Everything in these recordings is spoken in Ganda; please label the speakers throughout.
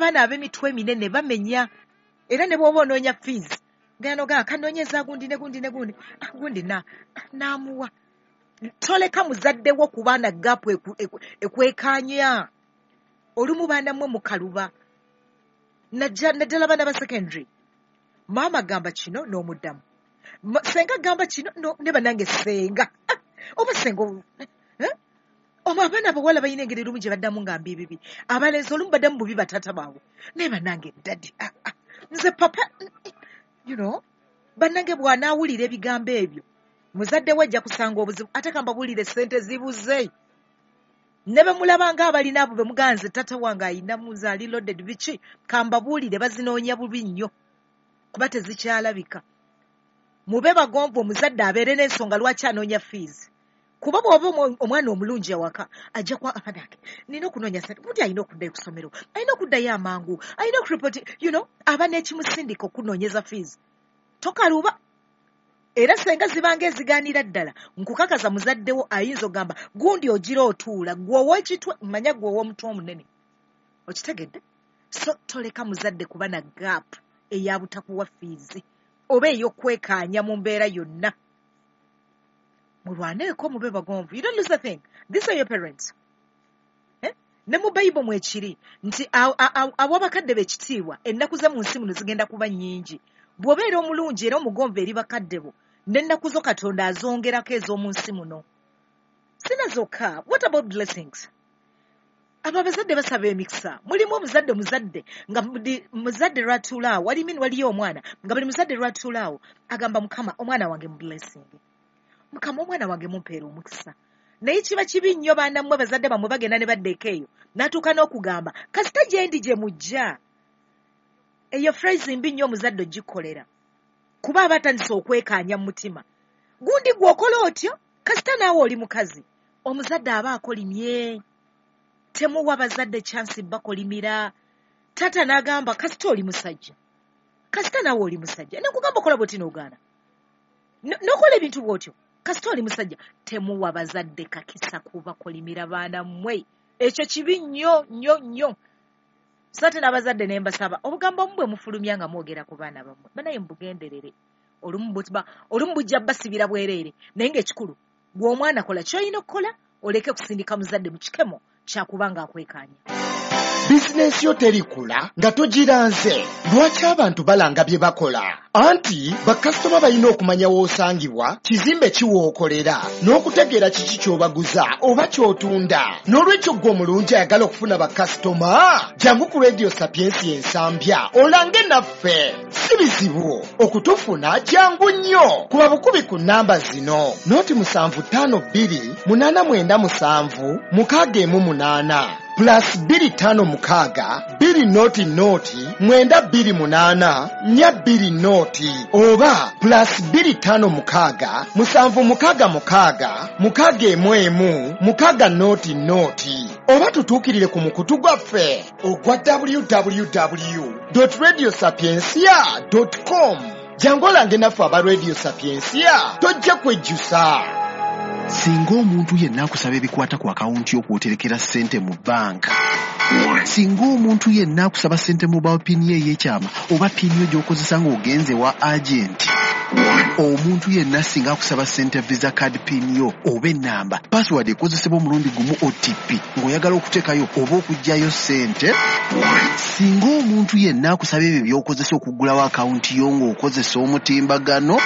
Speaker 1: Abaana ab'emitwe eminene bamenya, era ne bw'oba onoonya fees genda nogamba kanoonyeza gundi ne gundi ne gundi, gundi naamuwa. Toleka muzadde wo ku baana gap ekwekanya. Olumu baana mmwe mukaluba, naddala baana ba secondary. Maama gamba kino n'omuddamu, senga gamba kino ne bannange senga oba senga oba abaana abawala balina engeri olumu gye baddamu nga mbi bibi, abalenzi olumu baddamu bubi bataata baabwe, naye bannange daddy, nze papa, you know, bannange bw'anaawulira ebigambo ebyo muzadde we ajja kusanga obuzibu. Ate kambabuulire, ssente zibuze ne bwe mulaba ng'abalina abo be muganze, taata wange ayina muze ali loaded biki, kambabuulire bazinoonya bubi nnyo kuba tezikyalabika. Mube bagonvu, omuzadde abeere n'ensonga lwaki anoonya fees, kuba bw'oba omwana omulungi awaka ajja kwa abanange nina okunoonya ssente, gundi alina okuddayo ku ssomero, alina okuddayo amangu, alina okuripoti, you know, aba n'ekimusindika okunoonyeza fees. Tokaluba. Era senga zibanga ezigaanira ddala, nkukakaza muzaddewo ayinza okugamba gundi ogira otuula gwe ow'ekitwe, manya gwe ow'omutwe omunene, okitegedde? So toleka muzadde kuba na gap eya butakuwa fees oba ey'okwekaanya mu mbeera yonna. Mulwaneeko, mube bagonvu. You don't lose a thing. These are your parents. Ne mu Bayibuli mwekiri nti aw'abakadde b'ekitiibwa ennaku ze mu nsi muno zigenda kuba nnyingi. Bw'obeera omulungi era omugonvu eri bakadde bo, n'ennaku zo Katonda azongerako ez'omu nsi muno. Sina zokka. What about blessings? Abo abazadde basaba emikisa. Mulimu omuzadde muzadde nga muzadde lwatuula awo, waliyo omwana nga buli muzadde lwatuula awo agamba Mukama omwana wange mu blessing, Mukama omwana wange mumpeera omukisa. Naye kiba kibi nnyo baana mmwe, bazadde bammwe bagenda ne badda eyo n'atuuka n'okugamba kasita gye ndi gye mujja. Eyo phrase mbi nnyo omuzadde ogikolera, kuba aba atandise okwekaanya mu mutima. Gundi gw'okola otyo kasita naawe oli mukazi. Omuzadde aba akolimye. Temuwa bazadde chance bakolimira. Taata n'agamba kasita oli musajja, kasita naawe oli musajja, nekugamba okola bw'oti n'ogaana n'okola ebintu bw'otyo, kasita oli musajja. Temuwa bazadde kakisa kubakolimira baana mmwe, ekyo kibi nnyo nnyo nnyo. So ate n'abazadde ne mbasaba obugambo omu bwe mufulumya nga mwogera ku baana bammwe, banaye mubugenderere. Olumu bujja basibira bwereere, naye ng'ekikulu gw'omwana kola ky'olina okukola, oleke kusindika muzadde mu kikemo kyakubanga akwekaanya.
Speaker 2: Bizinensi yo terikula nga togiranze. Lwaki abantu balanga bye bakola? Anti bakasitoma balina okumanya w'osangibwa, kizimbe ki w'okolera, n'okutegeera kiki ky'obaguza oba ky'otunda. N'olwekyo ggwe omulungi ayagala okufuna bakasitoma, jangu ku Radio Sapiensia Ensambya olange naffe. Si bizibu okutufuna, jangu nnyo. Kuba bukubi ku nnamba zino: 075 289 766, +256 200 928 420, oba +256 766 611 600, oba tutuukirire ku mukutu gwaffe ogwa www.radiosapiencia.com. Jangu olange naffe aba Radio Sapiencia, tojja kwejjusa.
Speaker 3: Singa omuntu yenna akusaba ebikwata ku akawunti y'okwoterekera ssente mu bbanka, singa omuntu yenna akusaba ssente mobile PIN ye ey'ekyama oba PIN yo gy'okozesa ng'ogenze wa agenti, omuntu yenna singa akusaba ssente Visa card PIN yo oba ennamba, password ekozesebwa omulundi gumu OTP ng'oyagala okuteekayo oba okuggyayo ssente, singa omuntu yenna akusaba ebyo by'okozesa okuggulawo akawunti yo ng'okozesa omutimbagano,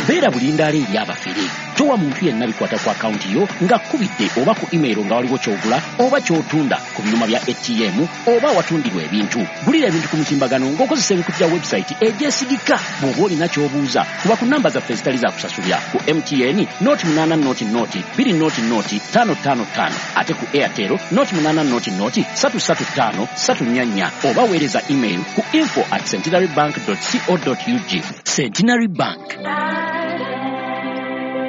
Speaker 4: beera bulindaala eri abafere. Towa muntu yenna bikwata ku akawunti yo ng'akkubidde oba ku email nga waliwo ky'ogula oba ky'otunda ku byuma bya ATM oba awatundirwa ebintu. Gulira ebintu ku mutimbagano ng'okozesa emikutu gya website egyesigika. Bw'oba olina ky'obuuza, kuba ku namba zaffe ezitali za kusasulira. Ku MTN 080 020 555, ate ku Airtel 080 335 344, oba weereza email ku info@centenarybank.co.ug. Centenary Bank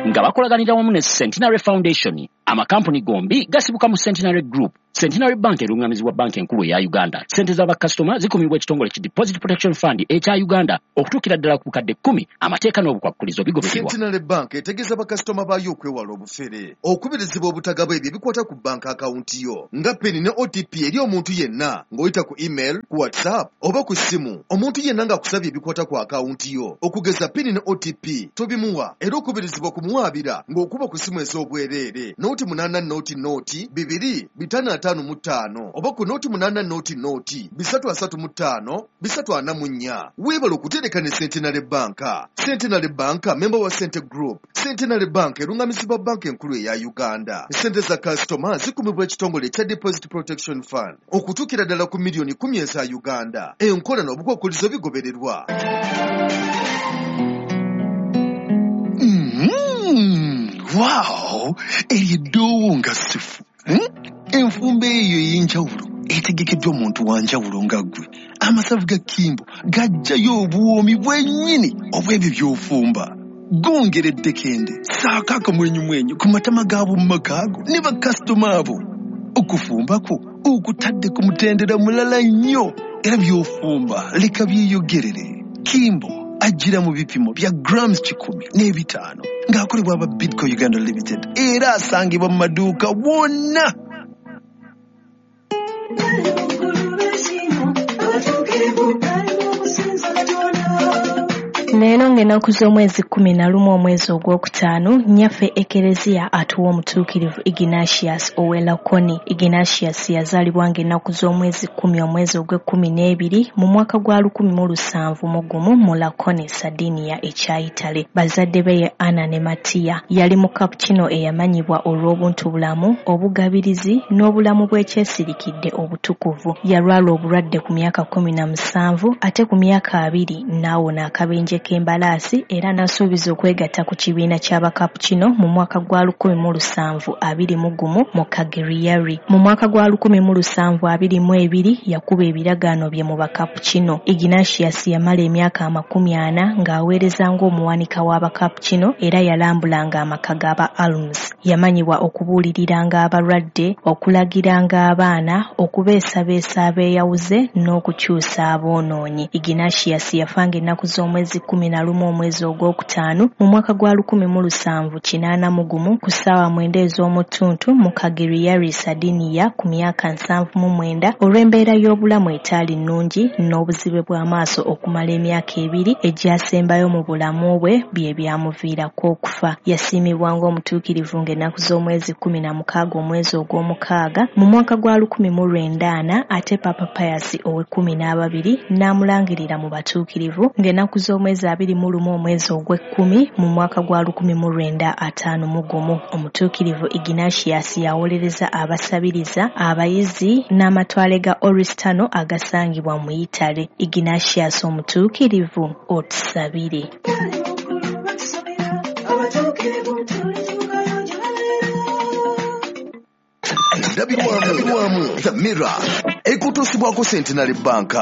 Speaker 4: nga bakolaganira wamu ne Centenary Foundation. Amakampuni gombi gasibuka mu Centenary Group. Centenary Bank erungamizibwa banka enkulu eya Uganda. Ssente za bakasitoma zikumibwa ekitongole ki Deposit Protection Fund ekya Uganda okutuukira ddala ku bukadde 10. Amateeka n'obukwakkulizo bigobererwa.
Speaker 5: Centenary Bank etegeeza bakasitoma baayo okwewala obufere, okubirizibwa obutagaba ebyo ebikwata ku banka akawunti yo nga PIN ne OTP eri omuntu yenna ng'oyita ku email, ku WhatsApp oba ku ssimu. Omuntu yenna ng'akusabye ebikwata ku akawunti yo okugeza PIN ne OTP tobimuwa, era okubirizibwa kumuwaabira ng'okuba ku ssimu ez'obwereere 080 0 2 555 oba ku 080 0 335 344. Weebale okutereka ne Centenary Bank. Centenary Bank member wa Sente Group. Centenary Bank erungamizibwa banka enkulu eya Uganda. Ssente za kasitoma zikumibwa ekitongole ekya Deposit Protection Fund okutuukira ddala ku miliyoni 10 eza Uganda. Enkola n'obukwakkulizo bigobererwa.
Speaker 3: Wow! Eryo eddoowo nga sifu. Enfumba eyo ey'enjawulo etegekeddwa omuntu wa njawulo nga ggwe. Amasavu ga Kimbo gajjayo obuwoomi bwennyini obw'ebyo by'ofumba. Gongera eddekende, ssaako akamwenyumwenyu ku matama g'ab'omu maka go ne bakasitoma abo. Okufumba kwo okutadde ku mutendera mulala nnyo, era by'ofumba leka byeyogerere. Kimbo ajjira mu bipimo bya grams 105 ng'akolebwa aba Bidco Uganda Limited, era asangibwa mu maduuka wonna.
Speaker 6: Leero ng'ennaku z'omwezi 11 omwezi ogwokutaano, nnyaffe Ekereziya atuwa omutuukirivu Ignatius ow'e Lakoni. Ignatius yazaalibwa ng'ennaku z'omwezi 10 omwezi ogw'e-12 mu mwaka gwa 1701 mu Lakoni, Sardinia ekya Italy. Bazadde be ye Anna ne Mattia. Yali mukapucino eyamanyibwa olw'obuntubulamu, obugabirizi n'obulamu bw'ekyesirikidde obutukuvu. Yalwala obulwadde ku myaka 17 ate ku myaka 20 n'awona akabenje k'embalaasi era n'asuubiza okwegatta ku kibiina ky'abakapucino mu mwaka gwa 1721 mu Cagliari. Mu mwaka gwa 1722 yakuba ebiragaano bye mu bakapucino. Ignatius yamala emyaka 40 ng'aweereza ng'omuwanika w'abakapucino era yalambulanga amaka g'aba Alms. Yamanyibwa okubuuliriranga abalwadde, okulagiranga abaana, okubeesabeesa abeeyawuze n'okukyusa aboonoonyi. Ignatius yafanga ennaku z'omwezi 11 omwezi ogwokutaano mu mwaka gwa 1781 ku ssaawa 9 ez'omuttuntu mu Cagliari, Sardinia ku myaka 79 olw'embeera y'obulamu etaali nnungi n'obuzibe bw'amaaso okumala emyaka 2 egyasembayo mu bulamu bwe bye byamuviirako okufa. Yasiimibwa ng'omutuukirivu ng'ennaku z'omwezi 16 omwezi ogw'omukaaga mu mwaka gwa 1904 ate Papa Pius ow'e-12 n'amulangirira mu batuukirivu ng'ennaku z'omwezi 21 omwezi ogw'e-10 mu mwaka gwa 1951. Omutuukirivu Ignatius yawolereza abasabiriza, abayizi n'amatwale ga Oristano agasangibwa mu Italy. Ignatius omutuukirivu, otusabire.
Speaker 5: Endabirwamu The Mirror ekutuusibwako Centenary Bank.